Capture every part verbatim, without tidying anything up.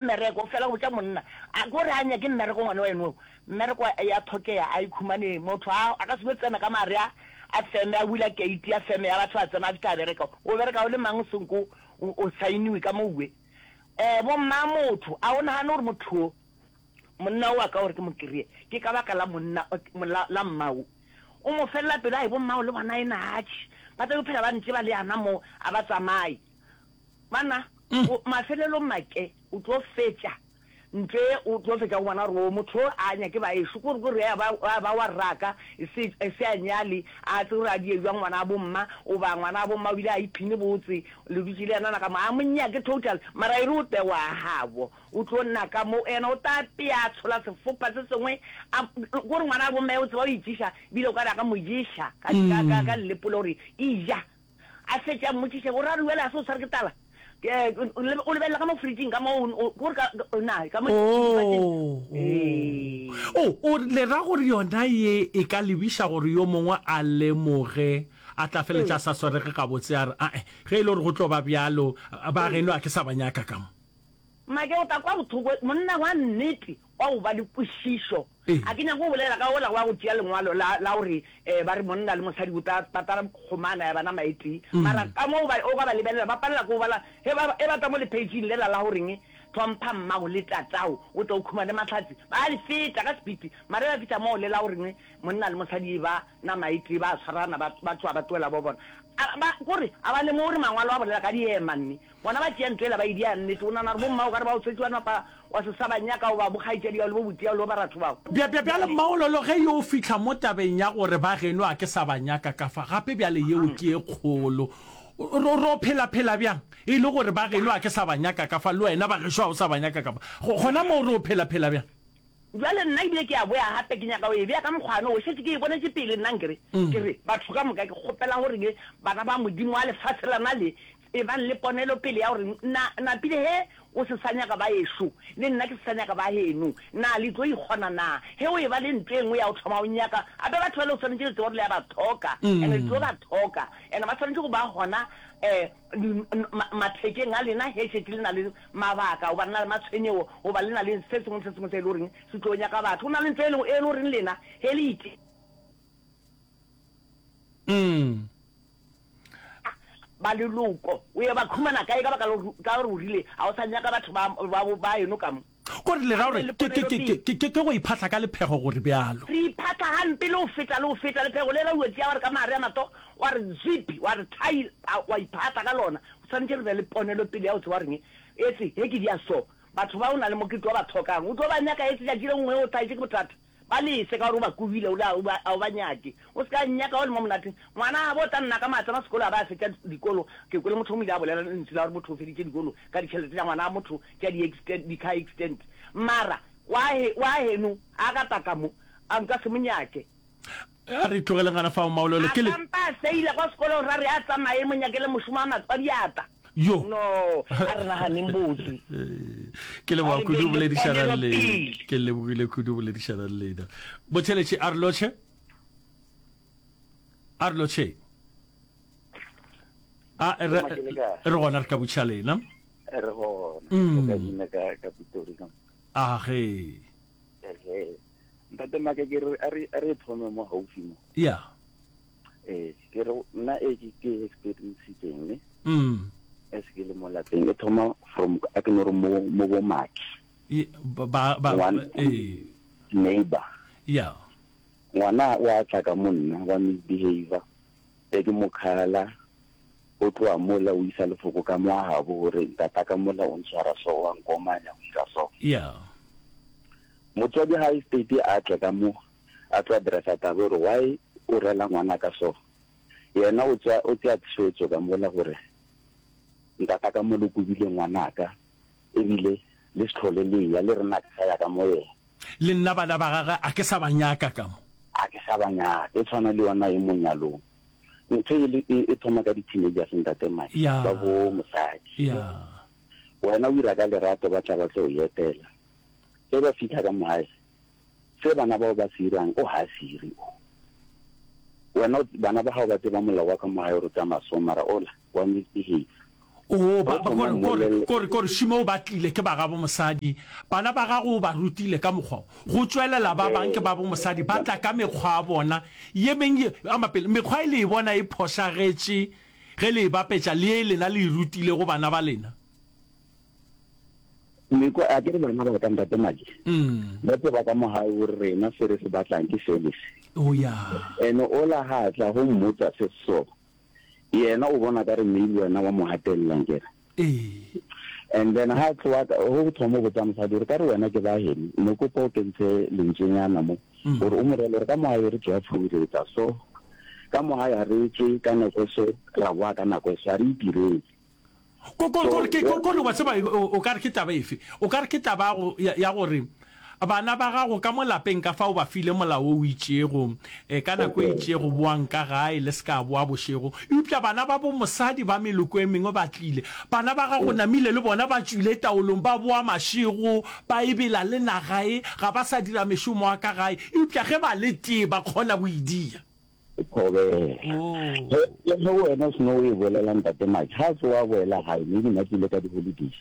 Mmereko, o fela o botša monna, a ke gore a nyake mmereko ngwana wa eno o. Mmereko ya thokea a e khumane, motho a a ka se no tsena ka mare a a feme a bula keiti ya feme ya batho a tsena a fihla a bereka. O bereka o le mang o senko o o sainiwe ka mouwe. Eh bo mma motho a o nagane gore motho o monna o wa ka gore ke mo kry-e ke ka baka la monna la la mmao. O mo felela pelo ai bo mmao le bona ena atšhe ba tla yo phela ba ntše ba le yana mo a ba tsamaye. Banna, o, mafelelong make, o tlo fetša ntlo ye, o tlo fetša go bona gore o motho o a nyake baešo, ke gore ke gore a ba, a ba wa rraka, e se, e se a nyale, a tsebe gore a die bjang ngwana wa bomma, goba ngwana wa bomma o bile a iphine botse, le dutše le yena na ka mo, a mo nyake total, mara e re o te wa gabo, o tlo nna ka mo, yena o tla apea, a tshola sefopa se sengwe, a, ke gore ngwana wa bomma e o tseba o itšiša, ebile o ka re a ka mo ješa ka, ka, ka, ka llepole gore eja. A fetše a mmotšiše, O ra gore bjale ga se o tshware ke tlala? Ke, o lebelela ka mo fridging ka mo, o, ke gore ka, na, ka mo Oh, oh. Ee. Oh, o le ra gore yona ye e ka lebiša gore yo mongwe a lemoge, a tla feletša a sa swarege gabotse, a re, Ae, ge e le gore go tlo ba bjalo, ba geno a ke sa ba nyaka ka mo. Make, o tla kwa bohloko, monna wa nnete wa go ba le kwešišo. A ke nyake go bolela ka wola wa go tšea lengwalo la, la gore eh, ba re monna le mosadi o tla, ba tla kgomana ya ba nama e tee. Mara ka mo ba, o ka ba lebelela, ba palela ke go bala, ge ba, ge ba tla mo lepheitšing lela la goreng, Hlompha mmago le tatago, o tle o khumane mahlatse, ba a le feta ka sepiti. Mara ge ba fihla moo le la goreng monna le mosadi e ba nama e tee, ba a tshwarana, ba, ba tloga ba tlohela bo bona. A ba, kore a ba lemoge gore mangwalo a bolela ka diema nne. Bona ba tšea ntlo yela ba e dia nnete. O nagana gore bomma o ka re ba o tswetše wa napa wa se sa ba nyaka goba bokgaetšedi ao le bo buti ao le bo baratho bao? Bja, bja, bjale Mmaololo ge yo fihla mo tabeng ya gore ba geno a ke sa ba nyaka ka fa, gape bjale yeo ke ye kgolo. Ro, ro phela phela bjang? E le gore ba geno a ke sa ba nyaka ka fa, le wena ba gešo ga o sa ba nyaka ka fa. Go, gona moo ro phela phela bjang? Bjale nna ebile ke a boya gape, ke nyaka go e bea ka mokgwa wo, šetše ke e bonetše pele nna nkere, ke re, batho ka moka, ke kgopela gore le bana ba Modimo wa lefase lena le, ebang le ponelopele ya gore na, napile ge o se sa nyaka ba ešo, le nna ke se sa nyaka ba geno, na le tlo ikgona na? Ge o eba le ntlo e nngwe ya go thoma go nyaka, gape batho bale o swanetše le tsebe gore le a ba hloka, and le tlo ba hloka, and ba swanetše go ba gona um mathekeng a lena ge šetše le na le mabaka goba le na le matshwenyego goba le na le se sengwe le se sengwe se e le goreng se tlo nyaka batho. Go na le ntlo e le e le goreng lena ge le ite Mm. ba leloko o ye ba khumana kae ka baka la gore ka gore o rile ga o sa nyaka batho ba ba ba eno ka mo. Kore le ra gore ke ke ke ke ke ke go iphatla ka lephego gore bjalo. Re iphatla gampe le go feta le go feta lephego lela o tšea wa re ka mare a matsogo wa re zip wa re thai wa iphatla ka lona. O swanetše re be le ponelopele ya go tseba goreng etse ge ke dia so batho ba o na le mo ke tlo ba hlokang o tlo ba nyaka etse tšatši le nngwe o hlaetše ke bothata. Ba lese ka gore o ba kobile, o le a o ba nyake. O se ka nnyaka o le mo monateng. Ngwana gabo o tla nna ka maa tsena sekolo a ba a fetša dikolo. Ke kwele motho o mo ile a bolela lentšu la gore motho o feditše dikolo ka ditšhelete tša ngwana motho tša di accident, di car accident. Mara wa he, wa heno a ka tla ka mo, a nka se mo nyake. A re tlogeleng gana fao Maololo. A Ke le. ka mpa a feila kwa sekolong ra re a tsamaye mo nyakele mošomo wa matso a diatla. Yo. No, a re naganeng botse. Ke A leboga re kudu beng le boledišana le ponelopele. Ke lebogile kudu boledišana le lena. Botheletše a re lotšhe. A re lotšhe. A re Ke le kae? re gona re ka botšiša lena. Re gona. Mm. O ka bina ka ka Pitori ka. A ge. Ehe. Ntate Maka ke re a re a re thome mo haufi mo. Yeah. Ee, ke re nna e ke ke experiencetseng ne. Mm. As ke le mo lapeng e thoma from a ke no re mo mo bo maki. Ye, ba ba Ngwana ee. neighbor. Yeah. Ngwana o a tla ka mo nna wa misbehavior. E ke mo khala o tloa mola o isa lefoko ka mo a gabo gore ntata ka mola o ntshwara so wa nkomanya o ira so. Yeah. Motswadi ga e state a tle ka mo a tlo addressa taba gore why o rela ngwana ka so. Yena o tswa o tsea tshwetso ka mola gore ntata ka mola o kobile ngwanaka ebile le se hlole le ya le rena ke sa ya ka mo yena. Le nna bana ba gagwe a ke sa ba nyaka ka mo. A ke sa ba nyaka. E tshwana le yona e mo nyalong. Ntho e le e, e thoma ka di-teenagers ntate Mike, Ya. ba bo mosadi. Ya. Wena o ira ka lerato ba tla ba tlo o etela. Ge ba fihla ka mo gae, se bana bao ba se irang o ga se ire o. Wena o, bana ba gago ba tseba molao wa ka mo gae gore o tsamaya so mara ola wa misbehave. Oo, ba, ba, kore, kore, kore, kore šimo o ba tlile ke ba gabo mosadi. Bana ba gago o ba rutile ka mokgwa wo. Go tšwelela ba bang ke ba bo mosadi, ba tla ka mekgwa ya bona ye meng ye, ama pele, mekgwa e le e bona e phošagetše ge le e bapetša le ye lena le e rutilego bana ba lena. Mekwa, a ke re bana ba ka, Ntate Maki, ba tseba ka mo gae gore rena se re se batlang ke se le se. Oh, ya. Ene ola ga a tla go mmotsa se so, Yena o bona ka re maybe wena wa mo gatelela nkere. Ee. And then ha tloa go thoma go botsa mosadi gore ka re wena ke ba heno, ne kopa o kentshe lentswenyana mo gore o mo rele gore ka mo gae re tšwa foo re etsa so, ka mo gae ga re tšwe ka nako e so, ra boa ka nako e so, ga re itirele. Ko, ko, kore ke, ko, kore wa tseba, o, o ka re ke taba efe? O ka re ke taba ya go, ya, ya gore bana ba gago ka mo lapeng ka fa o ba file molao wo o itšego, e, ka nako e itšego boang ka gae, le se ka boa bošego. Eupša bana ba bo mosadi ba meloko e mengwe ba tlile. Bana ba gago namile le bona ba tšwile taolong, ba boa mašego, ba ebela le naga e, ga ba sa dira mešomo ya ka gae. Eupša ge ba le tee ba kgona go e dia. Thobela. Ge, le ge wena o seno o e bolela Ntate Mike, ga a tsoga a boela gae, maybe nna ke ile ka di-holidays,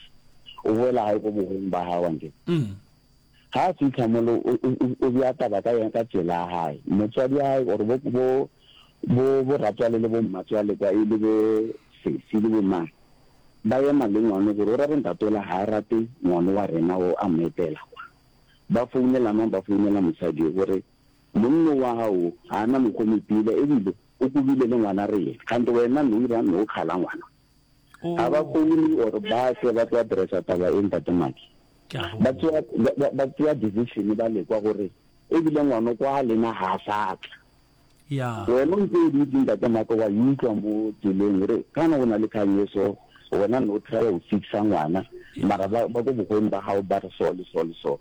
o boela gae ko bogong ba gago ankere. Ga a fihla mole o, o, o, o bea taba ka yena ka tsela ya gae. Motswadi wa gae or bo, bo, bo, bo ratswale le bo mmatswale kwa e le bo sesi le bo mang, ba ema le ngwano gore o ra re ntate ola ga a rate ngwano wa rena o a mo etela kwa. Ba founela mang? Ba founela mosadi o gore Monno wa gago ga a na mokgwa o mopila ebile o kobile le ngwana rena. Kgante wena no ira no kgala ngwana. Ga ba foune or ba tle ba tlo addressa taba e Ntate Maki. Ba tseya ba tseya decision ba lekwa gore ebile ngwano kwa lena ga a sa tla. Wena o ntse o dutse Ntate Maki wa e utlwa mo tseleng gore kana go na le kgang e so wena no try go fixa ngwana mara ba ba ko bogweng ba gago ba re so le so le so.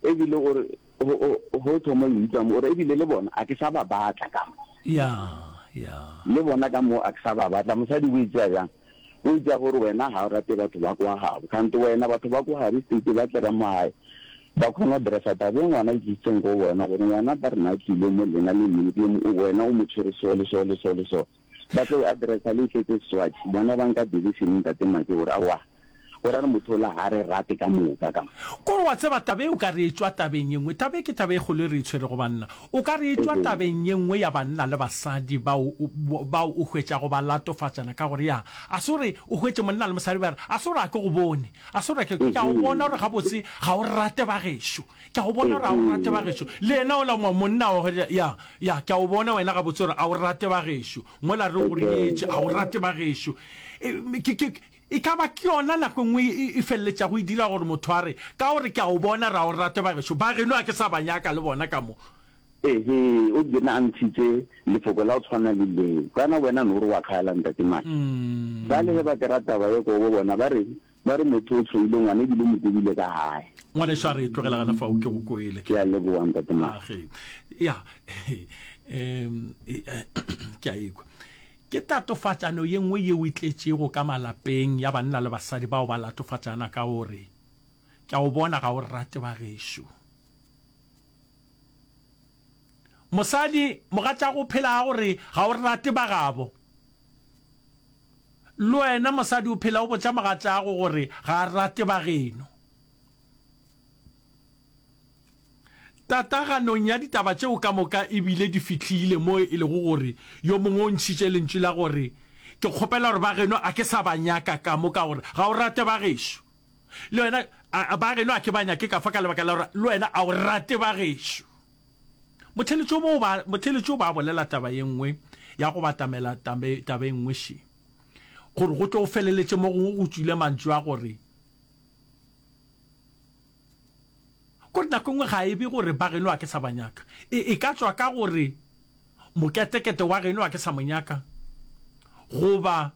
Ebile o re Go, go thoma go utlwa mo, o re, Ebile le bona a ke sa ba batla ka mo. Ya, ya. Le bona ka mo a ke sa ba batla. Mosadi o e tšea bjang? O e tšea gore wena ga o rate batho ba kwa gabo. Kgante wena batho ba kwa gabo state ba tle ka mo gae, ba kgona go dressa taba e ngwana e tlisitseng go wena, gore ngwana ba re na tlile mo lena le medium, wena o mo tshwere so le so le so le so. Ba tlo e addressa le e tletse swatch. Bona ba nka decision Ntate Make gore aowa, go ra re motho ola ga re rate ka moka ka mo. Kore wa tseba taba e o ka re e tšwa tabeng ye nngwe. Taba e ke taba e kgolo e re e tshwerego banna. O ka re e tšwa tabeng ye nngwe ya banna le basadi bao, bao o hwetšago ba latofatšana ka gore ya, a se gore o hwetše monna le mosadi ba re, a se gore a ke go bone, a se gore ke, ke a go bona gore gabotse ga o rate ba gešo. Ke a go bona gore ga o rate ba gešo. Le yena ola monna wa hwetša, ya, ya, ke a go bona wena gabotse gore ga o rate ba gešo. Mola re go nyetše, ga o rate ba gešo. E, ke, ke, e ka ba ke yona nako e nngwe e, e feleletšago e dira gore motho a re, ka gore ke a go bona gore ga o rate ba gešo, ba geno a ke sa ba nyaka le bona ka mo. Ehe, o bile a ntshitše lefoko la go tshwana le leo. Kana wena no re wa kgala, Ntate Maki. Bjale ge ba kera taba ye ko bo bona ba reng? Ba re motho o hloile ngwana ebile o mo kobile ka gae. Ngwanešu a re tlogela gana fao ke go kwele. Ke a leboga Ntate Maki. Age. Ya. Em, ke a ekwa. Ke tatofatšano ye nngwe yeo e tletšego ka malapeng ya banna le basadi bao ba latofatšana ka gore, Ke a o bona ga o rate ba gešo. Mosadi, mogatšago o phela a gore ga o rate ba gabo. Le wena mosadi o phela o botša mogatšago gore ga a rate ba geno. Tataganong ya ditaba tšeo ka moka e bile di fihlile mo e lego gore yo mongwe o ntšhitše lentšu la gore, Ke kgopela gore ba geno a ke sa ba nyaka ka mo ka gore ga o rate ba gešo. Le wena a ba geno a ke ba nyake ka fa ka lebaka la gore le wena a o rate ba gešo. Motheeletši o mo ba, motheeletši o ba bolela taba ye nngwe ya go batamela tabe, taba e nngwe še. Gore go tlo go feleletše mo gongwe go tšwile mantšu a gore, Kore nako e nngwe ga e be gore ba geno a ke sa ba nyaka. E, e ka tšwa ka gore moketekete wa geno a ke sa mo nyaka, goba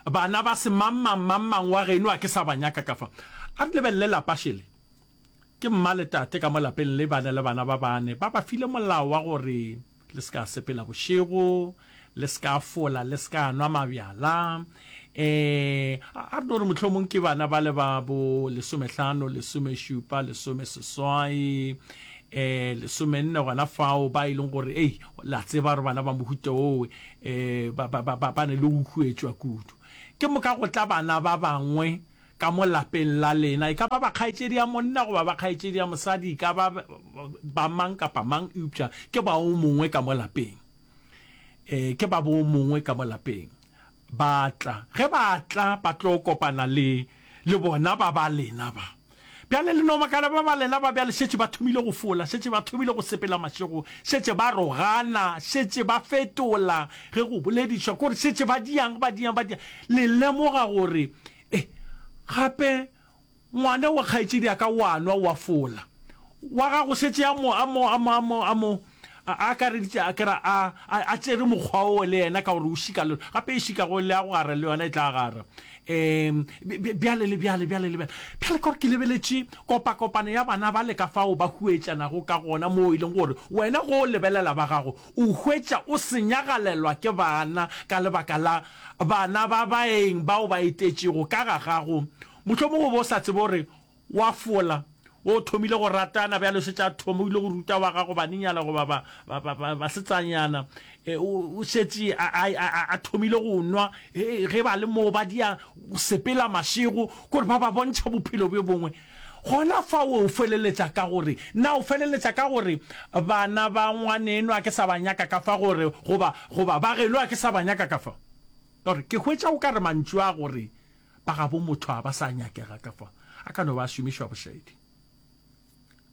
bana ba semangmang mangmang wa geno a ke sa ba nyaka ka fa. A re lebelele lapa šele. Ke mma le tate ka mo lapeng le bana le bana ba bane. Ba ba file molao wa gore le se ka sepela bošego, le se ka fola, le se ka nwa mabjala. Um a re no re mohlomong ke bana ba le ba bo lesomehlano, lesomešupa, lesomeseswai, um lesomenne gona fao, ba e leng gore ei, la tseba gore bana ba mohuta oo um ba, ba, ba, ba, ba ne le go huetšwa kudu. Ke moka go tla bana ba bangwe ka mo lapeng la lena, e ka ba ba kgaetšedi ya monna goba ba kgaetšedi ya mosadi, e ka ba ba mang kapa mang, eupša ke ba o mongwe ka mo lapeng. E, ke ba bo mongwe ka mo lapeng. Ba tla. Ge ba tla, ba tlo kopana le, le bona ba ba lena ba. Bjale le no makala, ba ba lena ba bjale šetše ba thomile go fola, šetše ba thomile go sepela mašego, šetše ba rogana, šetše ba fetola ge go boledišwa, kore šetše ba diang, ba diang, ba diang. Le lemoga gore, e, gape ngwana wa kgaetšedi ya ka o a nwa, o a fola. Wa gago šetše a mo, a mo, a mo, a mo, a mo, a akareditše, a ke ra, a, a, a tšere mokgwa oo le yena ka gore o šika le, gape e šikago le ya go gara le yona e tla gara. Um, bjale le bjale, bjale le bjale. Bjale ka gore ke lebeletše kopakopano ya bana bale ka fao ba huetšanago ka gona, moo e leng gore wena ge o lebelela ba gago, o hwetša o senyagalelwa ke bana ka lebaka la bana ba baeng bao ba etetšego ka ga gago. Mohlomongwe o be o sa tsebe gore wa fola, o thomile go ratana bjale o šetše a thomile go ruta wa gago banenyana goba ba, ba, ba, ba, basetsanyana. E, o, o šetše a, a, a, a thomile go nwa, e, ge ba le moo ba dia go sepela mašego, kore ba ba bontšha bophelo bjo bongwe. Gona fao o feleletša ka gore, na o feleletša ka gore bana ba ngwaneno a ke sa ba nyaka ka fa gore, goba, goba ba geno a ke sa ba nyaka ka fa? Ka gore ke hwetša o ka re mantšu a gore ba gabo motho a ba sa nyakega ka fa, a ka no ba a šomišwa bošaedi.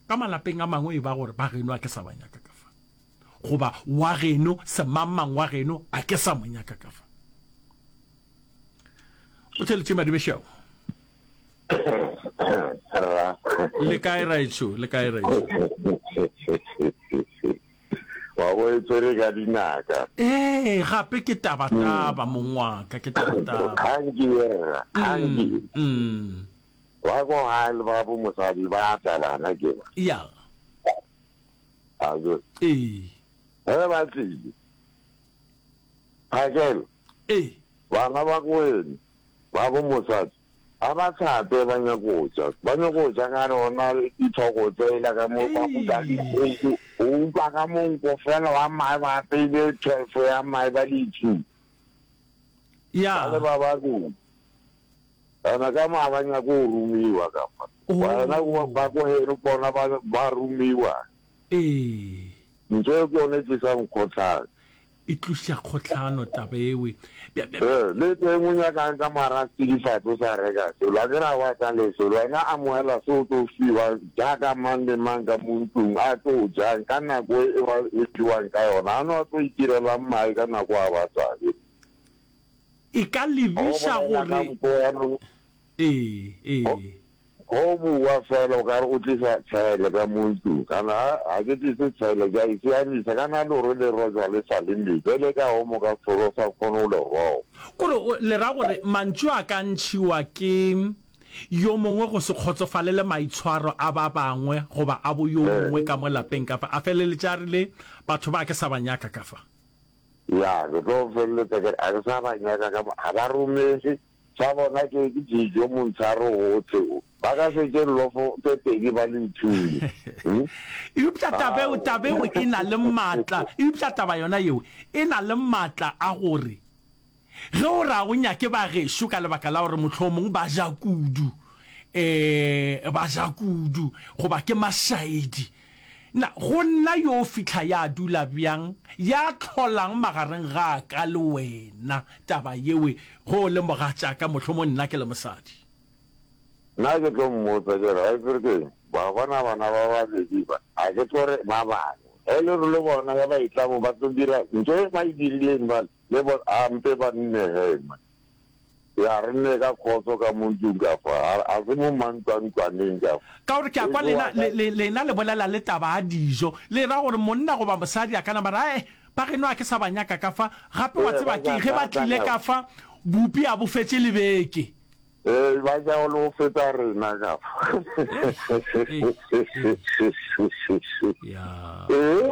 Ka malapeng a mangwe e ba gore ba geno a ke sa ba nyaka ka fa, goba wa geno semangmang wa geno a ke sa mo nyaka ka fa. O theletše madibešao. Le kae raetsho? Le kae raetsho? Wa bo e tswere ka dinaka. Ee, gape ke tabataba mong wa ka, ke tabataba. Kgang ke ye rra, kgang ke ye. Mm. Ba ko gae le ba bo mosadi ba tla bana ke ba. Ya. A ke. Ee. Ge ba tlile. Phakela. Ee. Bana ba ko wene, ba bo mosadi, ga ba hlape ba nyako ja. Ba nyako ja ka rona dithoko tsela ka mo ba kuka dikgogo. O utlwa ka monko fela wa mae ba apeile twelve ya mae ba le two. Ya. Ba le ba babedi. Ena ka mo ga ba nyake go romiwa ka fa. Wena ba ko heno bona ba ba romiwa. Ee. Ntho e ke yone e tlisang kgotlhang. E tliša kgohlano taba ewe. Ee, le teng o nyakang ka mara tsidifatse o sa reka selo, a ke re a wa sa le selo, wena amohela se o tlo fiwang jaaka mang le mang ka mo ntlong a tlo jang ka nako e ba e fiwang ka yona, a no a tlo itirelang mae ka nako a batlang. E ka lebiša gore. Ee, ee. Go bua fela o ka re o tlisa tshele ka mo ntlong, kana ga ke tlise tshele ke a e siamisa, kana lore le rojwa le sa le metsi, ge le ka omo ka sefolo o sa kgone go le roba. Kore le ra gore mantšu a ka ntšhiwa ke yo mongwe go se kgotsofalele maitshwaro a ba bangwe goba a bo yo mongwe ka mo lapeng ka fa, a feleletše a rile batho ba ke sa ba nyaka ka fa. Ya, ke tlo feleletša ke re ga ke sa ba nyaka ka mo, ga ba romege. Sa bona ke ke dijo montsharo gohle o. Ba ka se tše lofo tše pedi ba le nthule. Hmm? Eupša taba eo, taba eo e na le maatla, eupša taba yona yeo e na le maatla a gore ge o re a o nyake ba gešo ka lebaka la gore mohlomong ba ja kudu, um ba ja kudu goba ke mašaedi, Na go nna yo fihla ya dula bjang, ya hlolang magareng ga ka le wena taba yewe, ge o le mogatšaka, mohlomong nna ke le mosadi? Nna ke tlo mmotsa ke re, Waitsere ke eng? Wa bona bana ba babedi ba, ga ke tlo re ba bangwe. Ge le re le bona ge ba etla mo ba tlo dira ntho e ba e dirileng bale, le bona, a mpe ba nne ge man. Ya, re nne ka khotso ka mo ntlong ka fa, a, a se mo mantlwantlwaneng ka fa. Ka gore ke a kwa lena, le, le, lena le bolela le taba ya dijo, le ra gore monna goba mosadi a ka nama ra, eh, ba geno a ke sa ba nyaka ka fa, gape wa tseba ke eng, ge ba tlile ka fa, bupi a bo fetše le beke. Ee, ba ja le go feta rena ka fa. Ee,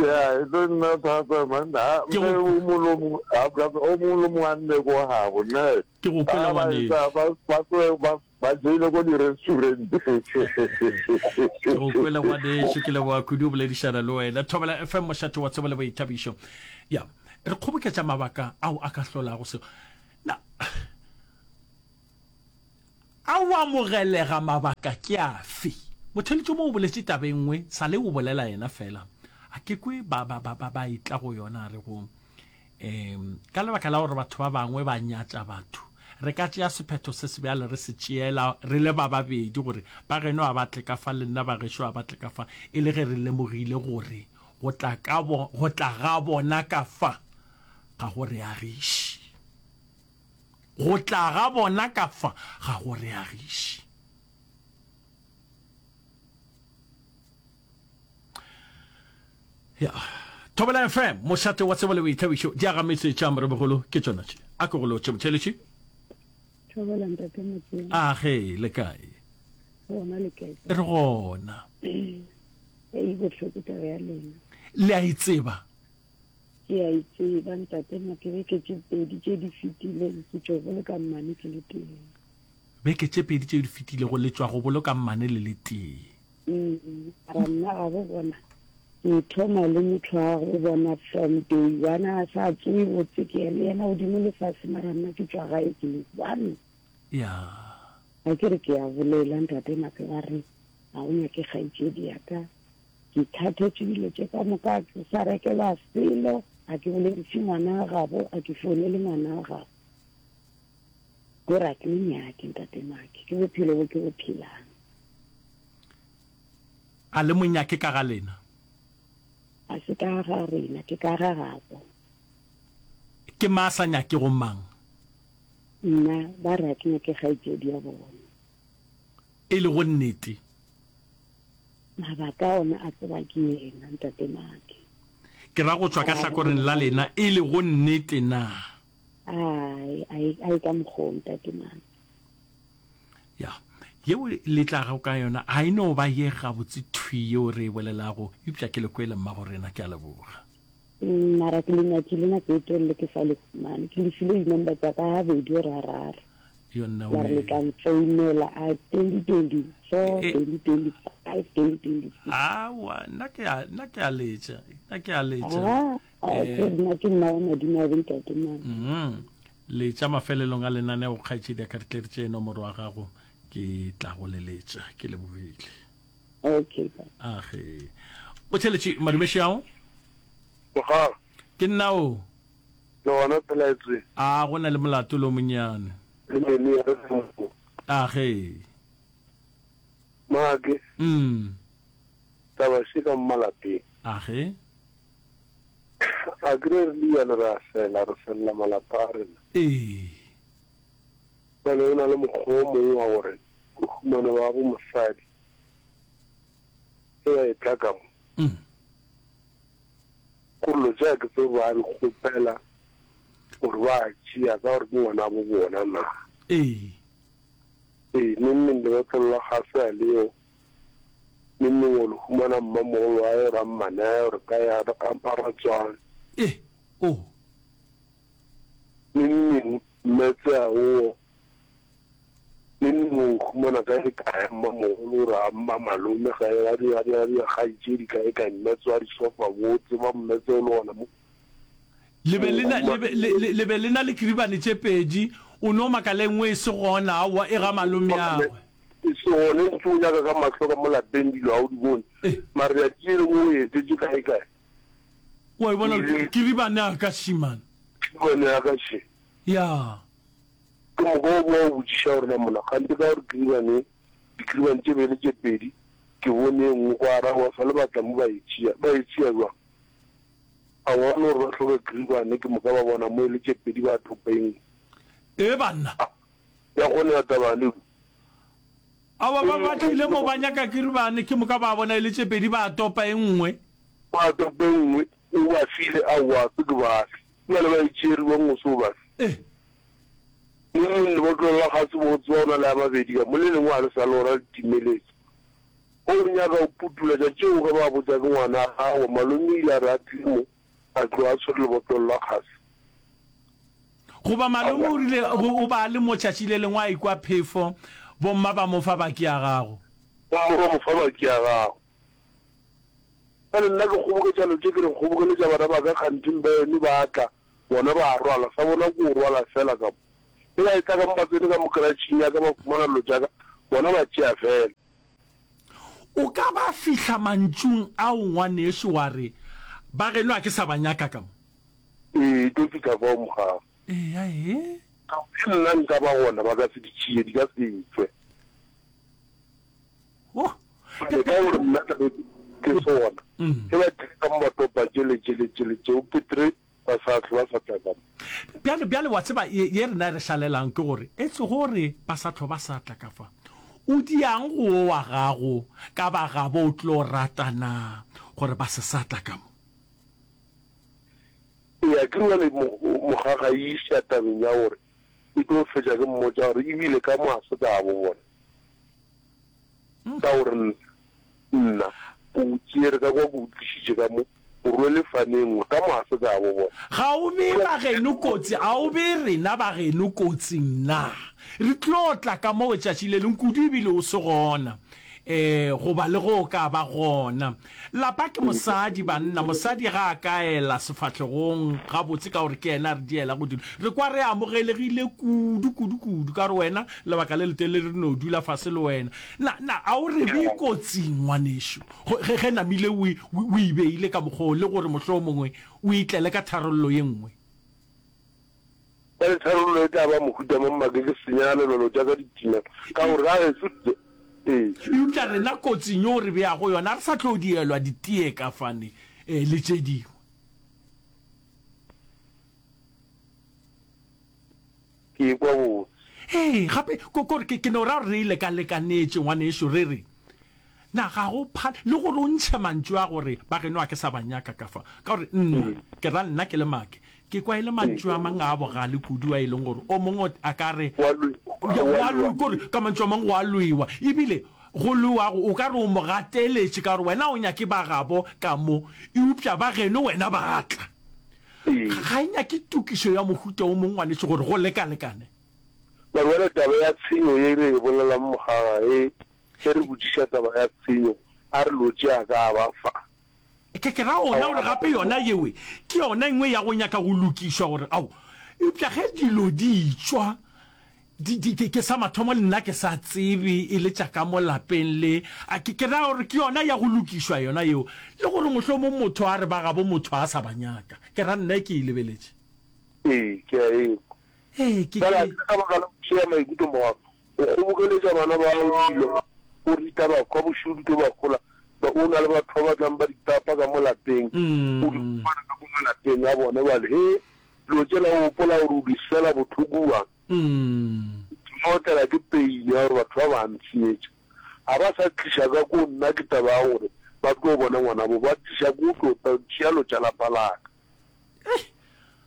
ya, e tlo nna thata man. Ha, Ke mme go- o mongwe le o mongwe, ha, o mongwe le mongwe a nne ko gabo, ne. Ke go kwele Ba ba ngwanešu. etsa, ba ba tloe ba ba jele ko di-restaurant. Ke go kwele ngwanešu, ke leboga kudu go boledišana le wena. Thobela F M, mošate wa tsebo le boithabišo. Ya, re kgoboketša mabaka ao a ka hlolago seo. Na A o amogelega mabaka ke afe? Motheeletši mo o boletše taba e nngwe, sa le o bolela yena fela. A ke kwe ba, ba, ba, ba, ba etla go yona, a re go, um, ka lebaka la gore batho ba bangwe ba nyatša batho, re ka tšea sephetho se sebjale re se tšeela re le ba babedi gore ba geno a ba tle ka fa le nna ba gešo a ba tle ka fa, e le ge re lemogile gore go tla ka bo, go tla ga bona ka fa ga go re agiše. Go tla ga bona ka fa ga go re agiše. Ya. Thobela F M, mošate wa tsebo le boithabišo, diagametse tša moremogolo ke tšona tše. A ke go lotše motheeletši. Thobela ntate Motseng. A ge, le kae? Gona le kae? Re gona. Ei bohloko taba ya lena. Le a e tseba? Ke a e tseba ntate Moke, beke tše pedi tše di fetileng ke tšo boloka mmane ke le tee. Beke tše pedi tše di fetilego le tšwa go boloka mmane le le tee. Mm, mara nna ga bo bona ke thoma le motho wa go bona from day one a sa tsoe botse ke le yena godimo le fase, mara nna ke tšwa gae ke le one. Ya. Ga ke re ke a bolela ntate Mape ba re ga o nyake kgaetšedi ya ka, ke thathetše dilo tše ka moka, ke sa rekelwa selo, ga ke bolediše ngwana wa gabo, ga ke founele ngwana wa gabo. Ko re a ke mo nyake ntate Make, ke bophelo bo ke bo phelang. A le mo nyake ka ga lena? A se ka ga rena, ke ka ga gabo. Ke mang a sa nyakego mang? Nna, ba re a ke nyake kgaetšedi ya bona. E lego nnete. Mabaka ona a tseba ke yena, ntate Make. Ke ra go tšwa ka hlakoreng la lena, e lego nnete na? Ai, ai, ai ka mokgwa o, ntate Make. Ya, yeo le tlago ka yona ga e no ba ye gabotse thwi yeo re e bolelago, eupša ke le kwele mmago rena, ke a leboga. Mm, mara ke le nyakile nako e telele ke sa le fumane. Ke le file di-number tsa ka gabedi or gararo. Yo nna La re le we. tla nfounela a twenty twenty-four, E, twenty twenty-five, twenty twenty-six. Aowa, nna ke a, nna ke a letša, nna ke a letša. Ah, ah, Eh, ke nna ke nna wa madimabe ntate Mane. mm, letša mafelelong a lenaneo, kgaetšedi ya ka, re tle re tšee nomoro ya gago, ke tla go leletša. Ke lebogile. Okay, bye. Age. O theletše madumeši ao? Mogala. Ke nna o. Le gona phela e tswe. A go na le molato lo monnyane. Le mene ya re mo. Age. Make. Mm. Taba še ka mo malapeng. Age. A ke re re le bjale re a fela, re felela malapa a rena. Ee. Bjale go na le mokgwa o mongwe wa gore o humane ba bo mosadi ge ba etla ka mo. Mm. Gore dilo tša ke tsebe ba di kgopela gore ba tšea ka gore ke ngwana bo bona na. Ee. Ee, neng neng lebotlolo la gase a leo. Neng neng o le humana mmamogolo wa ye rammane a ye gore ka ya a ratswana. Ee, o. Neng neng mmetse a o. Neng neng o humana kae kae mmamogolo gore a mma malome ga e a di a di a di kgaetšedi kae kae mmetse wa disofa bo tseba mmetse o le gona mo. Le be le na, le be, le, le, le be le na le kiribane tše pedi, o no makala e nngwe e se gona, aowa, e ga malomeagwe. E se gona, e ntše o nyaka ka mahlo ka mo lapeng dilo ga o di bone. Eh. Mara tšatši le lengwe o etetše kae kae. Wa e bona, Ile- kiribane ya ka šimane. Kiribane ya ka še. Ya. Ke moka o boa o botšiša gore na mona kgante ka gore kiribane, dikiribane tše be le tše pedi, ke bone e nngwe kwa arago sa le batla mo ba e tšea, ba e tšea bjang? A bona gore ba hloka kiribane, ke moka ba bona mo e le tše pedi ba topa e nngwe. Ee banna. Ya kgone ya taba le. Aowa, ba ba tlile mo ba nyaka kiribane, ke moka ba bona e le tše pedi ba topa e nngwe. Ba topa e nngwe, o ba file, aowa, se ke ba fe. Bjale ba e tšere bjang o se o ba fe? Ee. Le leng lebotlolo la gase bo tseba o na le a mabedi ka mo, le lengwe ga le sa le gona le timeletše. O nyaka o putula tša tšeo ge ba botša ke ngwana gago, malome o ile a re a tlile mo, a tloga a tshwere lebotlolo la gase. Goba malome o rile o ba a le mo tšatši le lengwe a ikwa phefo, bomma ba mo fa baki ya gago. Bomma ba mo fa baki ya gago. Bjale nna ke kgoboketša lo tše ke re kgobokeletša bana ba ka kganting ba eno ba tla, bona ba rwala, sa bona ke o rwala fela ka mo. Ge ba etla ka mo ba tsene ka mo karatšhing ya ka ba humana dilo tša ka, bona ba tšea fela. O ka ba fihla mantšung ao ngwanešu wa re, Ba geno a ke sa ba nyaka ka mo. Ee, e tlo fihla fao mogago. Eya, ee. Ka gore ge nna nka ba gona ba ka se di tšee, di ka se tšwe. Oh. Bjale ka gore nna tla be ke se gona, ge ba tlile ka mo ba topa tšele, tšele, tšele, tšeo, Petre ba sa hlwe ba sa tla ka mo. Bjale, bjale wa tseba, ye, ye rena re šalelang ke gore, etse gore ba sa hlwa ba sa tla ka fa. O diang go wo wa gago ka ba gabo o tlo rata na gore ba se sa tla ka mo? Ee, a ke re bjale mo, mogaga e iša tabeng ya gore ke tlo fetša ke mmotša gore ebile ka mo ga se ka bo bona. Ka gore nna, nna ke o tšere ka kwa ke o tlišitše ka mo, o rwele fane e nngwe, ka mo ga se ka bo bona. Ga o bee ba geno kotsi, a o bee rena ba geno kotsing na? Re tlo tla ka moo tšatši le lengwe, kudu ebile o se gona. Ee, goba le ge o ka ba gona. Lapa ke mosadi, banna. Mosadi ga a ka ela sefahlegong gabotse ka gore ke yena a re dielago dilo. Re kwa re amogelegile kudu, kudu, kudu ka gore wena lebaka le letelele re no dula fase le wena. Na, na a o re bee kotsing, ngwanešu, ge, ge namile o, o e beile ka mokgwa wo le gore mohlomongwe o itlele ka tharollo ye nngwe? Bjale tharollo e tla ba mohuta mang make ke senya lelolo tša ka ditima ka gore ga gešo di ee. Eupša rena kotsing yeo re beago yona re sa tlo dielwa ditee ka fane ee le tše dingwe. Ke ekwa botse. Ee, gape ko ko ke ke no ra gore re lekalekanetše ngwanešu re re na ga go phale le gore o ntšhe mantšu a gore ba geno a ke sa ba nyaka ka fa ka gore nna ke ra nna ke le make Ke kwa e le mantšu a mang a bogale kudu a e leng gore o mongwe a ka re, Go a lwewa, Ya, go go a a lwe, lwewa. kore ka mantšu a mangwe go a lwewa. Ebile go lwewago o ka re o mo gateletše ka gore wena o nyake ba gabo ka mo, eupša ba geno wena ba tla. Ee. Ga e nyake tokišo ya mohuta o mongwe ngwanešu gore go lekalekane. Mara bjale taba ya tshenyo ye re e bolelang mogaga e, ge re botšiša taba ya tshenyo, a re lotše a ka ba fa. Ke, ke ra ona gore gape yona yewe ke yona e nngwe ya go nyaka go lokišwa gore, ao, eupša ge dilo di tšwa, di, di, ke, ke sa mathomo le nna ke sa tsebe e le tša ka mo lapeng le, a ke, ke ra gore ke yona ya go lokišwa yona yeo, le gore mohlomong motho a re ba gabo motho a sa ba nyaka. Ke ra nna ke e lebeletše. Ee, ke a e kwa. Ee, ke, Bjale, a ke. ke ka baka la go tšea maikutlo morago, o kgobokeletša bana ba gago dilo, o rita ba kwa bošego di tlo ba gola, ba, o na le batho ba ba tlang ba di tapa ka mo lapeng, o di fumana ka mo malapeng a bona. Bjale, he, dilo tšela o gopola gore o di swela bohloko bjang? O thoma o tlelwa ke pain ya gore batho ba ba ntshenyetša. Ga ba sa tliša ka ko nna ke taba ya gore ba tlo bona ngwanabo, ba tliša ko tlo tšea lo tša lapa la ka.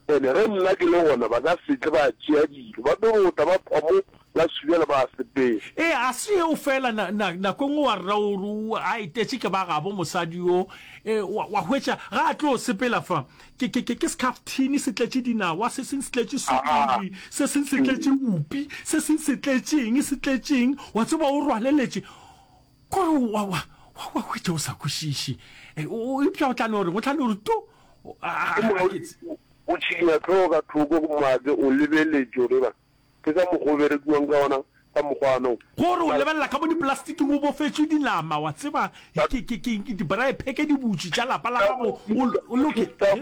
Ene ge nna ke le gona ba ka se tle ba tšea dilo, ba tlo no tla ba phwa mo la Subjana ba sepela. Ee, a se yeo fela, na, na, nako e nngwe wa rra o re o a etetše ke ba gabo mosadi yo, e, wa, wa hwetša ga a tlo sepela fa, ke, ke, ke, ke sekhaftini se tletše dinawa, se seng se tletše sukiri, se seng se tletše bupi, se seng se tletše eng, se tletše eng, wa tseba o rwaleletše. Kore wa, wa, wa, wa hwetša o sa kwešiše. E, o, eupša o tla no reng? O tla no re tu. A, a, Ke a, moka a o, ke tse. o tšhikinya hlogo ka thoko go make o lebeletše gore eba ke ka mokgwa o berekiwang ka gona ka mokgwa wo. Gore o lebelela ka mo diplastiking o bofetšwe dinama, wa tseba, ke, ke, ke, ke dibraepheke di butšwe tša lapa la gago, o, o loke, Staff,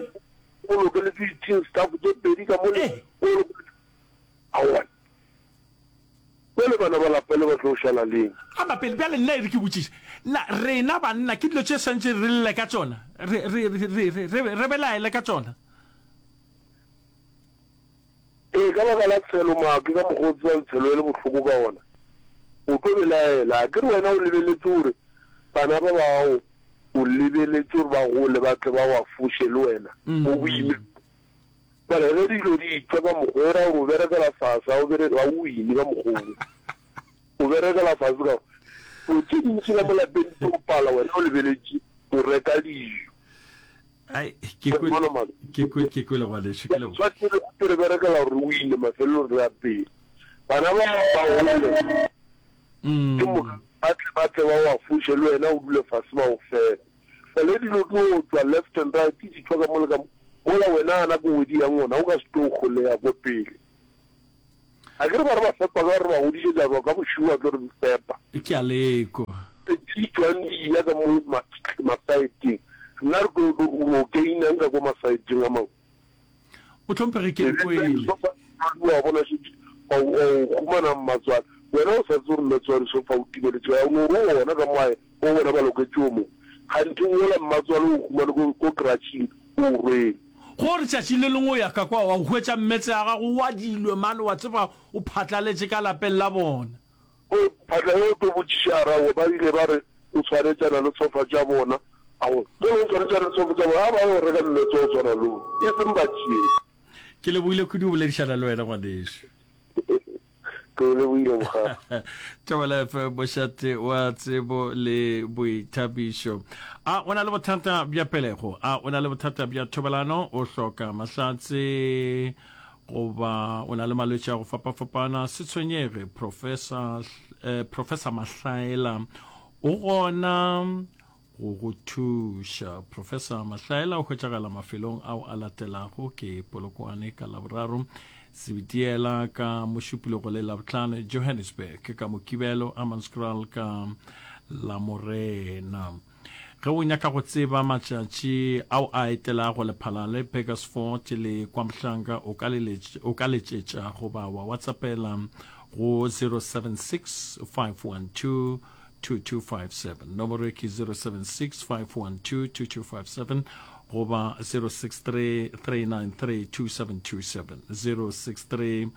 o lokeletše di-tin staff tše pedi ka mole, Eh. o lokeletše, aowa. Bjale bana ba lapa le ba tlo šala leng? Aba pele, bjale nna e re ke botšiše, na rena banna ke dilo tše swantše re lle ka tšona, re, re, re, re, re, re, re belaele ka tšona? Ee, ka baka la tshelo, maake, ka mokgwa o tsebang tshelo e le bohloko ka gona, o tlo belaela. A ke re wena o lebeletše gore bana ba ba gago, o lebeletše gore ba gole ba tle ba go afoše le wena mo boimeng. Bjale ge dilo di etšwa ka mokgwa o, e ra gore o berekela fase, ga o bere, ga o wine ka mokgwa wo. O berekela fase ka gore dilo tše dintši ka mo lapeng di tlo pala wena o lebeletše o reka dijo. Ai, ke Wa kwe, bona mama? ke kwe, ke kwele ngwanešu, ke leboga. Swanetše re gape re berekela gore re wine, mafelelong re apeye. Bana ba ba gole, ke moka ba tle ba tle ba o afoše le wena o dule fase ba o fepe. Bjale dilo di o tšwa left and right, di tšwa ka mo le ka mo, mola wena a nako ngwe di yang gona, o ka se tlo holeya ko pele. A ke re ba re ba fepa ka re ba godišetša ba ka bošego ba tlo re fepa. Ke a lekwa. Di tšwang di eya ka mo masaeteng. Nna re tlo o gainang ka ko masaeteng a mangwe. Mohlomphegi ke kwele. Wa bona šetše wa o humana mmatswale. Wena o sa tsebe gore mmatswale so fa o timeletše kae. O no re o gona ka mo gae o bona ba loketše o mongwe. Kganthe wola mmatswale o humane ko ko kratšhing o o rwele. Go re tšatši le lengwe o ya ka kwa wa hwetša mmetse ya gago o adilwe mane wa tseba o phatlaletše ka lapeng la bona. O phatla ge o tlo botšiša a re aowa ba ile ba re o tshwanetšana le sofa tša bona. Aowa ge o tshwanetšana le sofa tša bona a ba ye go reka mmetse wa go tshwana le wo e seng ba tšee. Ke lebohile kudu go boledišana le wena ngwanešu. Ke o lebohile mogala. Thobela F M, mošate wa tsebo le boithabišo. A o na le bothata bja pelego? A o na le bothata bja thobalano? O hloka mahlatse goba o na le malwetši a go fapafapana? Se tshwenyege, Professor, eh, Professor Mahlaela o gona go go thuša. Professor Mahlaela o hwetšagala mafelong ao a latelago ke Polokwane ka Laboraro, Sebitiela ka Mošupologo le Labohlano, Johannesburg ka Mokibelo, Hammanskraal ka Lamorena. Ge o nyaka go tseba matšatši ao a etelago Lephalale, Burgersfort le KwaMhlanga, o ka leletš-, o ka letšetša goba wa WhatsAppela go zero seven six five one two two two five seven. Nomoro ke zero seven six five one two two two five seven goba zero six three three nine three two seven two seven. zero six three,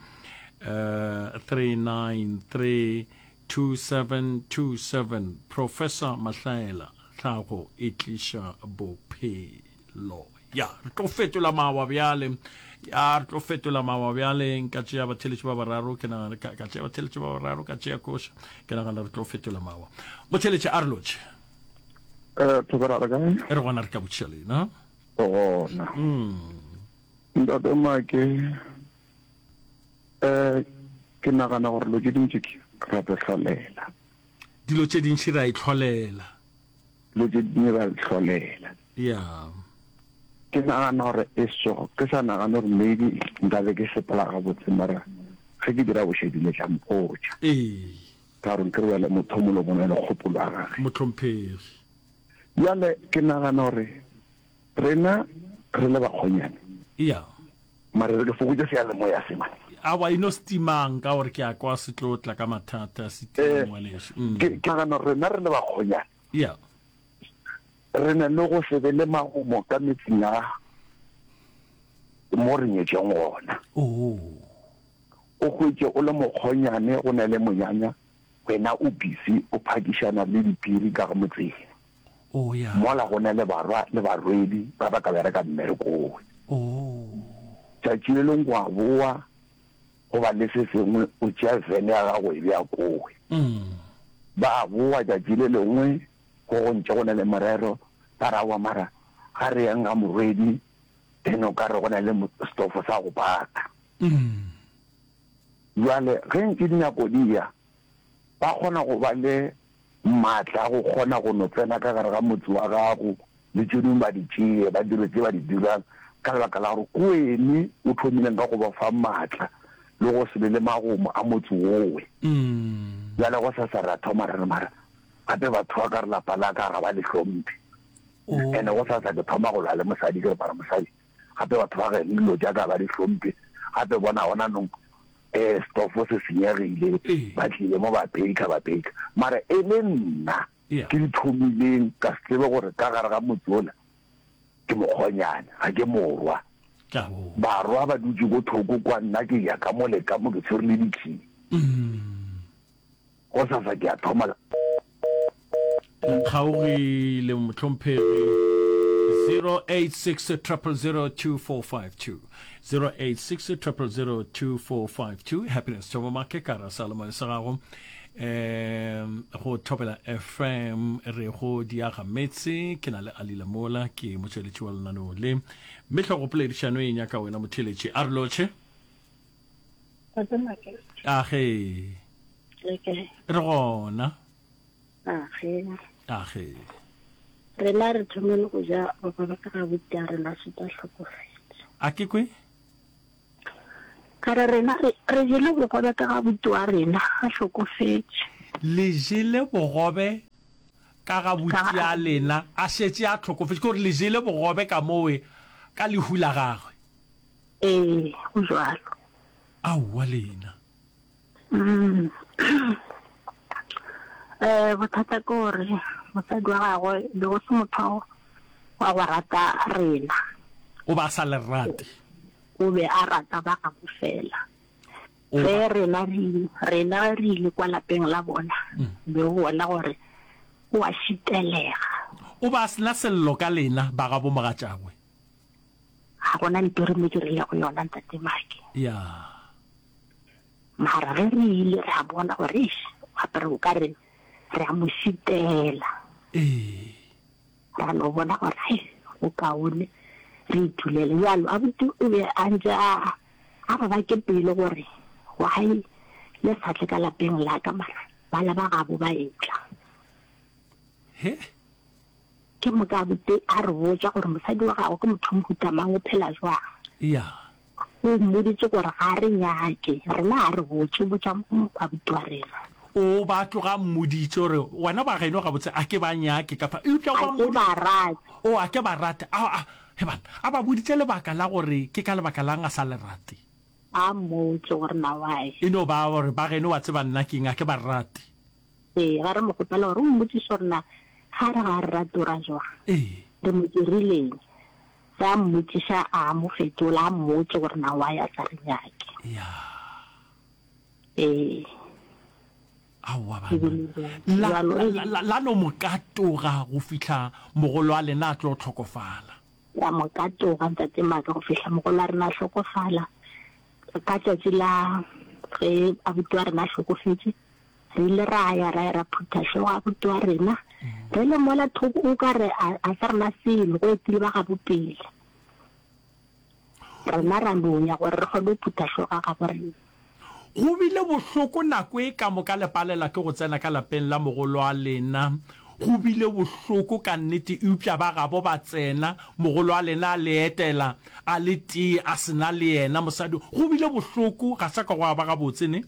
uh, three nine three two seven two seven. Professor Mahlaela, tlhago e tliša bophelo. Ya, re tlo fetola mawa bjale. Ya, re tlo fetola mawa bjale. Nka tšea batheletši ba bararo, ke nagana, ka, ka tšea batheletši ba bararo, ka tšea koša. Ke nagana re tlo fetola mawa. Motheletši, a re lotšhe. Eh, Thobela, re kae? Re gona, re ka botšiša lena. Gona. Mm. Ntate Make, eh, ke nagana gore dilo tše dintši ke ra di hlolela. Dilo tše dintši ra itlholela. Dilo tše dingwe ra di hlolela. Ya. Ke nagana gore e so, ke sa nagane gore maybe nka be ke sepela gabotse, mara ge ke dira bošedi le tla mpotša. Ee. Ka gore nke re bjale motho o mongwe le o mongwe le kgopolo ya gagwe. Mohlomphegi. Bjale ke nagana gore rena re le bakgonyane. Ya. Mara re ke fokotše seyalemoya se man. Aowa, e no se timang ka gore ke a kwa se tlo tla ka mathata, se time Eh, ngwanešu. Mm. ke, ke nagana gore rena re le bakgonyane. Ya. Re na le go se be le magomo ka metseng ya mo re nyetšeng gona. Oh. O hwetše o le mokgonyane go na le monyanya, wena o busy o phakišana le diphiri ka motseng. Oh, ya. Mola go na le barwa le barwedi ba ba ka bereka mmerekong. Oh. Tšatši le lengwe wa boa goba le se sengwe o tšea vene ya gago e bea kowe. Mm. Ba boa tšatši le lengwe go go ntše go na le morero, ba ra wa mara ga re yang ga morwedi, then o ka re go na le stofo sa go baka. Mm. Bjale ge ntše dinako di ya, ba kgona go ba le maatla a go kgona go no tsena ka gare ga motse wa gago le tše dingwe ba di tšee, ba dire tše ba di dirang ka lebaka la gore ke wene o thomileng ka go ba fa maatla le go se be le magomo a motse wowe. Mm. Bjale go sasa ra thoma re re mara gape batho ba ka re lapa la ka ga ba le hlomphe. Oh. Ene go sasa ke thoma go lwa le mosadi ke re mara mosadi gape batho ba geno dilo tša ka ba di hlomphe, gape bona gona nong eh stofo se senyegile, Ee. ba tlile mo ba baker, ba baker. Mara e le nna Yeah. ke di thomileng ka se tsebe gore ka gare ga motse ola ke mokgonyane, ga ke morwa. Ke a bona. Barwa ba dutše ko thoko kwa, nna ke ya ka mo le ka mo ke tshwere le dikhii. Mm. Go sasa ke a thoma. Le kgaogile mohlomphegi. zero eight six triple zero two four five two. zero eight six triple zero two four five two. Happiness Thobo Make ka ra Salomon sa gago. Em, go Thobela F M re go diaga metse, ke na le Alila Mola, ke motšweletši wa lenaneo le. Mme hlogopoledišano e nyaka wena motheletši. A re lotšhe. Tate Make. Age. Le kae? Re gona. Age. Age. Rena re thomile go ja papa ba ka ga buti a rena šetša hlokofetše. A ke kwe? Ka re rena re, re jele bogobe ka ga buti wa rena a hlokofetše. Le jele bogobe ka ga Ka buti ga a lena a šetše a hlokofetše, ke gore le jele bogobe ka mowe ka lehu la gagwe. Ee, go bjalo. Aowa lena. Mm. Eh, bothata ke gore mosadi wa gagwe be go se motho wa go rata rena. O ba a sa le rate. O be a rata ba gabo fela. O Ge ba. rena re, rena ge re ile kwa lapeng la bona, be o bona gore o a šitelega. O ba a se na sello ka lena ba gabo mogatšagwe. Ga gona ntho re mo dirilego yona, Ntate Maki. Ya. Mara ge re ile ra bona gore eish, gape re o ka re re a mo šitela. Ee. Ra no bona gore hai, go kaone re itulele. Bjalo abuti o be a ntše a a re bake pelo gore why le sa tle ka lapeng la ka mara bala ba gabo ba etla. He? Ke moka abuti a re botša gore mosadi wa gagwe ke motho wa mohuta mang, o phela jwang. Ya. O mmoditše gore ga a re nyake, rena ga a re botše, o botša abuti wa rena. O ba tloga a mmoditše gore wena ba geno gabotse a ke ba nyake ka fa, eupša o A ba ke mmoditše. ba rate. O a ke ba rate. A, a, he banna, a ba boditše lebaka la gore ke ka lebaka la'ng a sa le rate. A mmotše gore na why. E no ba gore ba geno wa tseba nna keng, a ke ba rate. Ee, ga re mo kgopela gore o mmotšiše gore na ga re ga a re rate o ra jwang. Ee. Re mo dirileng. Ge a mmotšiša a mo fetola, a mmotše gore na why a sa re nyake. Ya. Ee. Aowa Ke banna. bile bjalo. La, Bjalo, la, ei. la, la, la no mo katoga go fihla mogolo wa lena a tlo hlokofala. Ra mo katoga, Ntate Maka, go fihla mogolo wa rena a hlokofala. Ka tšatši la ge abuti wa rena a hlokofetše, re ile ra ya ra ya ra phutha hlogo abuti wa rena. Re le mola thoko o ka re a, a sa rena selo, go etile ba gabo pele. Rena ra no ya gore re kgone go phutha hlogo ya gabo rena. Go bile bohloko nako e ka moka le palela ke go tsena ka lapeng la mogolo wa lena. Go bile bohloko ka nnete, eupša ba gabo ba tsena, mogolo wa lena a le etela a le tee, a se na le yena mosadi. Go bile bohloko, ga sa ka gwa ba gabotse, ne?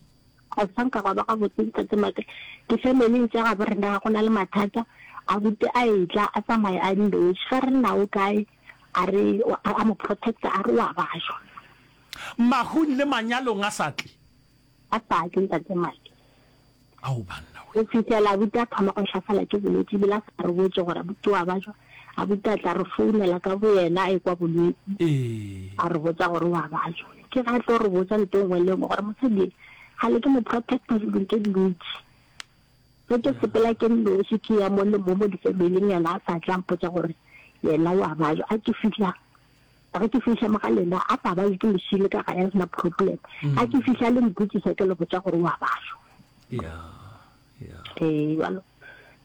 Ga sa nka gwa ba gabotse, Ntate Maka. Difemeleng tša gabo rena ga go na le mathata. Abuti a etla a tsamaya a nnoši. Ge re na o kae, a re, a mo protecta, a re o a bajwa. Mahung le manyalong a sa tle. A sa tle, Ntate Maki. Ao banna we. Go fihlela abuti a thoma go hlaselwa ke bolwetši, ebile a sa re botše gore abuti o a bajwa. Abuti a tla re founela ka boyena a ekwa bolwetši, Ee. a re botša gore o a bajwa. Ke ge a tlo re botša ntho e nngwe le e nngwe gore mosadi ye kgale ke mo protecta dilong tše dintši. Ge ke sepela ke nnoši ke ya mo le mo mo difemileng yena a sa tla mpotša gore yena o a bajwa. A ke fihla ge ke fihla mo ga lena a sa bajwe ke mošile ka gae a sena problem. A ke fihla le mpotšiša ke le botša gore o a bajwa. Ya, ya. Ee, bjalo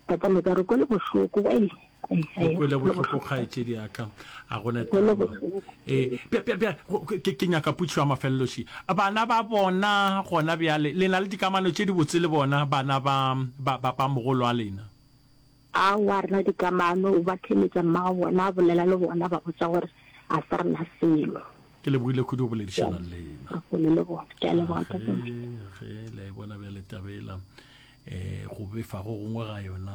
tata me ka re kwele bohloko, ei, ei, O ei, kwele kwele bohloko bohloko. kgaetšedi ya ka, a gona Kwele taba. bohloko. Ee, bja, bja, bja, go, ke, ke nyaka potšišo ya mafelelo še. Bana ba bona gona bjale, le na le dikamano tše dibotse le bona bana ba, ba, ba, ba mogolo wa lena? Aowa, re na dikamano, o ba theeletša mmago bona, a bolela le bona, ba botša gore a se rena selo. Ke lebogile kudu go boledišana le lena. Re kgole le bona. Ke a leboga, Ge, Tate Mike. ge le a e bona bjale taba ela, eh, go befa go gongwe ga yona,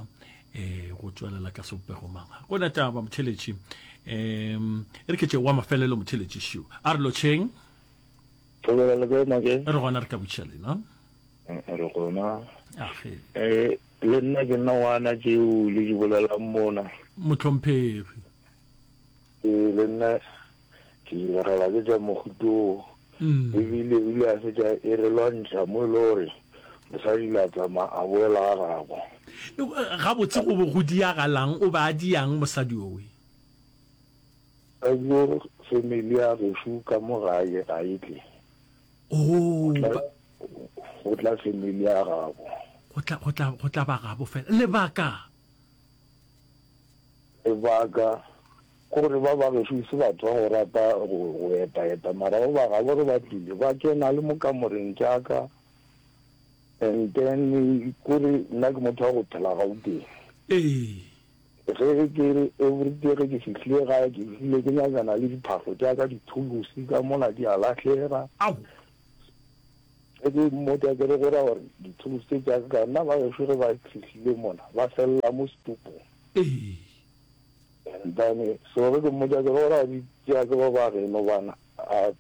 eh, go tšwelela ka sebopego mang. Ga go na taba, motheletši. Um, e re ke tše wa mafelelo, motheletši šiu. A re lotšheng. Thobela le kae, Make? Re gona, re ka botšiša lena. Re gona. Age. Eh, le nna ke nna ngwana tšeo le di bolelang mona. Mohlomphegi. Ee, le nna ke ilegela ke tša mohuto. Ebile o ile a fetša e re lwantšha mo e le gore mosadi ile a tsamaya a boela ga gabo. Gabotse go be go diagalang? O be a diang mosadi owe? Mosadi o family ya gešo ka mo gae ga e tle. Oh, Go tla, ba go tla family ya gabo. Go tla, go tla, go tla ba gabo fela. Lebaka? Lebaka ke gore ba ba gešo se batho ba go rata go, go eta-eta, mara ba ba gabo ge ba tlile ba kena le mo kamoreng tša ka. And then kore nna ke motho wa go phela Gauteng. Ee. Ge ke re everyday ge ke fihlile gae ke fihlile ke nyakana le diphahlo tša ka, dithulusi ka mola di a lahlega. Ao. Ge ke mmotša ke re go ra gore di-tools tše tša ka ka nna ba gešo ge ba fihlile mona ba felela mo setupong. Ee. And then so ge ke mmotša ke re go ra di tšea ke ba ba geno bana a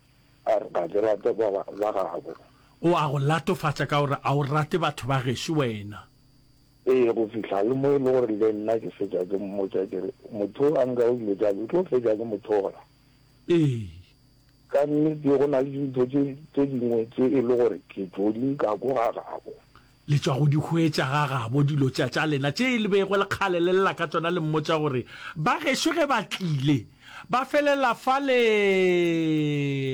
a re ga ke rate ba ba ba gabo. O a go latofatša ka gore a o rate batho ba gešo wena. Ee, go fihla le mo e le gore le nna ke fetša ke mmotša ke re motho o a nkago dilo tša ka ke tlo fetša ke mo thola. Ee. Ka nnete go na le dintho tše tše dingwe tše e le gore ke tšo di nka ko ga gabo. Le tšwa go di hwetša ga gabo dilo tša tša lena tše le bego le kgale le lla ka tšona le mmotša gore ba gešo ge ba tlile ba felela fale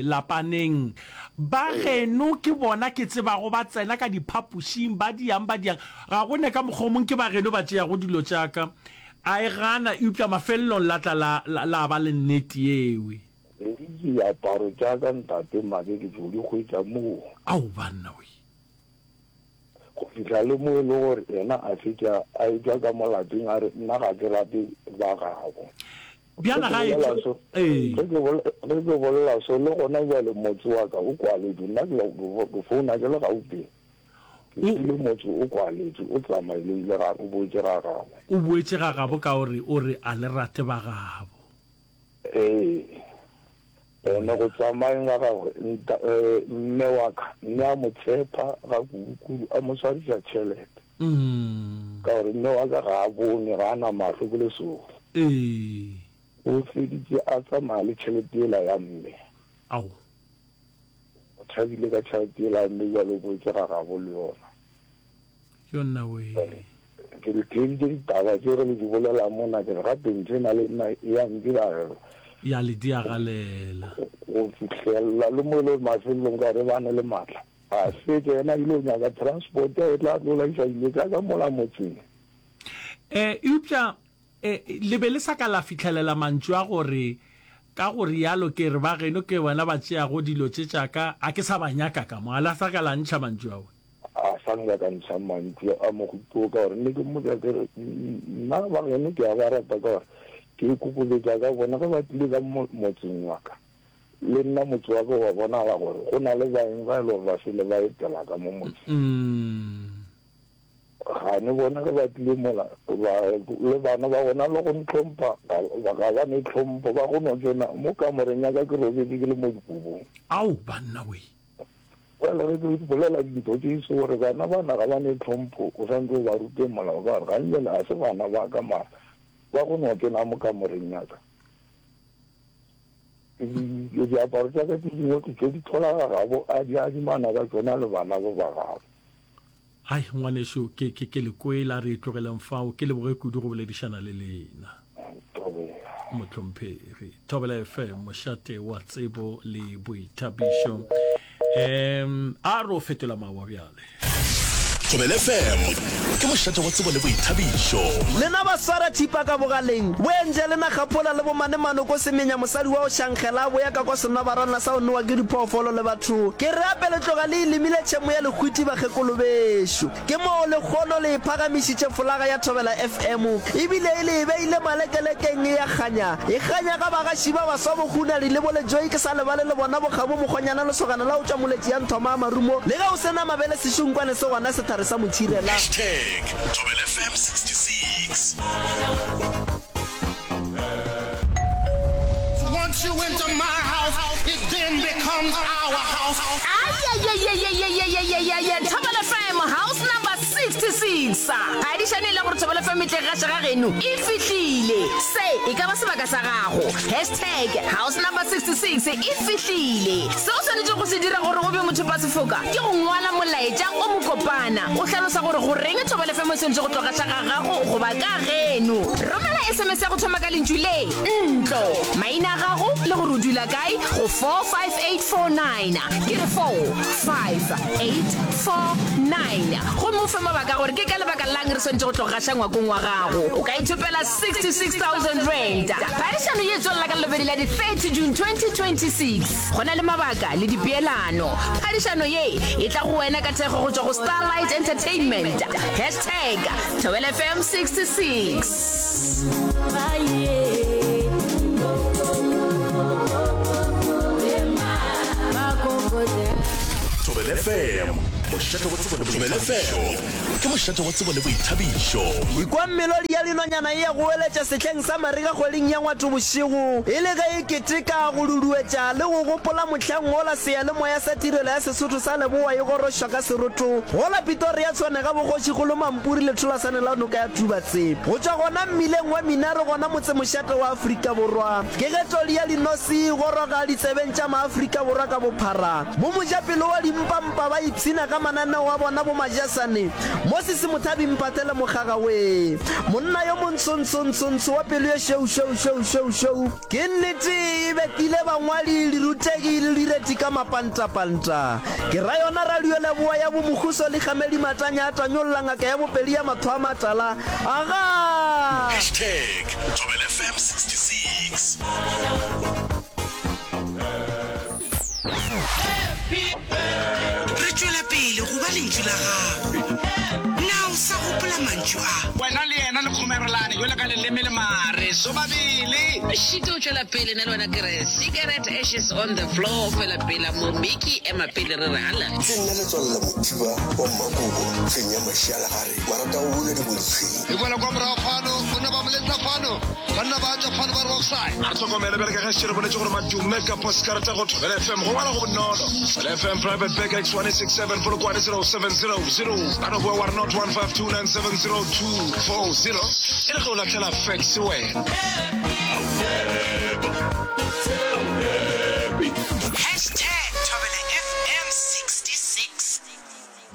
lapaneng ba geno ke bona ke tsebago ba tsena ka diphapošing ba diang ba diang ga go ne ka mokgwa o mong ke ba geno ba tšeago dilo tša ka a e gana eupša mafelelong la tla la la la ba le nnete yewe. Le diaparo tša ka ntate Make ke tšo di hwetša moo. Ao banna we. Go fihla le mo e le gore yena a fetša a etšwa ka mo lapeng a re nna ga ke rate ba gabo. Ge Bjana ke ga bolela etšwa so, ee. ge ke bole, ge ke bolela so le gona bjale motse wa ka o kwaletšwe nna ke, ke founa ke le Gauteng. Ke O, kwele motse o kwaletšwe o tsamaile o ile ga, o boetše ga gabo. O boetše ga gabo ka gore o re a le rate ba gabo. Ee, ene go tsamayeng ga gagwe, nta, eh, mme wa ka ne a mo tshepa ga kudu-kudu, a mo swariša tšhelete. Ka gore mme wa ka ga a bone, ga a na mahlo, ke lesogo. Ee. O feditše a tsamaya le tšhelete yela ya mme. Ao. O tšhabile ka tšhelete yela ya mme, bjale o boetše ga gabo le yona. Yo nna wee. Ke le theeditše ditaba tše ge le di bolela mona, ke re gape ntho ena le nna e a ntiragela. Ya le diagalela. Go fihlelela le mo e le mafelelong ka gore ba ne le maatla. A fetša yena a ile go nyaka transport e tla tlo laiša dilo tša ka mola motseng. E, eupša e, le be le sa ka la fihlelela mantšu a gore, Ka go rialo ke re ba geno ke bona ba tšeago dilo tše tša ka, a ke sa ba nyaka ka mo. A la sa ka la ntšha mantšu ao? A sa nka ka ntšha mantšu a mohuta wo ka gore ne ke mmotša ke re, Nna ba geno ke a ba rata ka gore ke ikokobetša ka bona ge ba tlile ka mo motseng wa ka. Le nna motse wa ka wa bonala gore go na le baeng ba e le gore ba fele ba etela ka mo motseng. Gane bona ge ba tlile mola, ba, le bana ba gona le go ntlhompha, ga, ga ba ne tlhompho, ba go no tsena mo kamoreng ya ka ke robetše ke le mo dikobong. Ao, banna wee! Bjale ge ke bolela dintho tše so gore bana bana ga ba ne tlhompho, o swanetše o ba rute molao ka gore gane bjale ga se bana ba ka mara ba go no tsena mo kamoreng ya ka. Diaparo tša ka tše dingwe ke tšo di thola ga gabo a di adimana ka tšona le bana ba ba gabo. Ai, ngwanešu, ke, ke, ke le kwele, a re e tlogeleng fao. Ke leboge kudu go boledišana le lena. Thobela. Mohlomphegi. Thobela F M, mošate wa tsebo le boithabišo. Um, a re o fetola mawa bjale. Thobela F M ke mošate wa tsebo le boithabišo. Lena ba swara thipa ka bogaleng, bo Angelina Kgapola le bo Mane Manoko Semenya mosadi wa go šankgela a boya ka kwa senobarana sa go nowa ke diphoofolo le batho. Ke re ape le tloga le e lemile tšhemo ya lehwiti bakgekolo bešo. Ke moo lekgono le e phagamišitše folaga ya Thobela F M ebile e le e beile malekelekeng e a kganya. E kganya ga bagaši ba baswa bo Hunadi le bo Lejoe ke sa lebale le bona bo Kgabo Mokgonyana lesogana la go tšwa Moletši ya Nthoma a Marumo le ge o se na mabele sešunkwane se gona sethare sa motšhirela. Hashtag Thobela F M sixty six. Once you enter my house, it then becomes our house. Ayayayayayayayayaya Thobela F M house number sixty six. Phadišano e le gore Thobela F M e tle gaša ga geno e fihlile. Se e ka ba sebaka sa gago. Hashtag house number sixty six e fihlile. Se o swanetšego go se dira gore o be mothopasefoka ke go ngwala molaetša o mokopana o hlalosa gore goreng Thobela F M e swanetše go tlo gaša ga gago goba ka geno. Romela S M S ya go thoma ka lentšu le ntlo, maina a gago le gore o dula kae go four five eight four nine. Ke re four five eight four nine. Gomme o fe mabaka a gore ke ka lebaka lang re swanetše go tlo gaša ngwakong wa gago. O ka ithopela sixty six thousand rand. Phadišano ye e tswelela ka Lelobedi la di thirty June twenty twenty six. Go na le mabaka le dipeelano. Phadišano ye e tla go wena ka thekgo go tšwa go Starlight Entertainment. Hashtag Thobela F M sixty six. Thobela Thobela F M, mošate wa tsebo le Thobela F M ke mošate wa tsebo le boithabišo. Ikwa melodi ya dinonyana e a goeletša sehleng sa marega kgweding ya Ngwatobošego, e le ge e keteka, go duduetša le go gopola mohlang wola seyalemoya sa Tirelo ya Sesotho sa Leboa e gorošwa ka seroto gola Pitoria Tshwane ga boKgošikgolo Mampuri letholasane la noka ya Tubatse. Go tšwa gona mmileng wa Minaro gona motsemošate wa Afrika Borwa, ke ge todi ya dinose e goroga ditsebeng tša maAfrika Borwa ka bophara. Bo mojapelo wa dimpampa ba ipshina ka mananeo a bona bo Majasane, Moses Mothabi Mphathele Mokgaga wee, monna yo montsho-ntsho-ntsho-ntsho wa pelo ye šweu-šweu-šweu-šweu-šweu. Ke nnete e betile bangwadi, dirutegi le direti ka mapantapanta. Ke ra yona Radio Leboa ya bo Mokhuso Likgamedi Matanya a tanyolla ngaka ya bopedi ya matho a matala. Agaa! Hashtag Thobela F M sixty six. Re tšwela pele go ba lentšu la gago. Na o sa gopola mantšu a? Wena le yena le kgomerelane jwalo ka leleme le mare sobabele. Šito o tšwela pele nna le wena ke re cigarette ashes on the floor fela pela mo Mickey ema pele re re ala. Ke nna Letswalo la Mothiba wa Mmakobo, fenya mašialagare, marata go buna diboditshweng. E boela kwa morago fano, banna ba moletsa fano, banna ba tšwa fano ba re offside. A re hlokomele bjale ka ge šetše re boletše gore madume ka poskarata go Thobela F M go ngwala go bonolo. Thobela F M Private Bag X one six seven Polokwane zero seven zero zero. Ka no boa wa re not one five two nine seven zero two four zero e le ge o lahlela fax wena.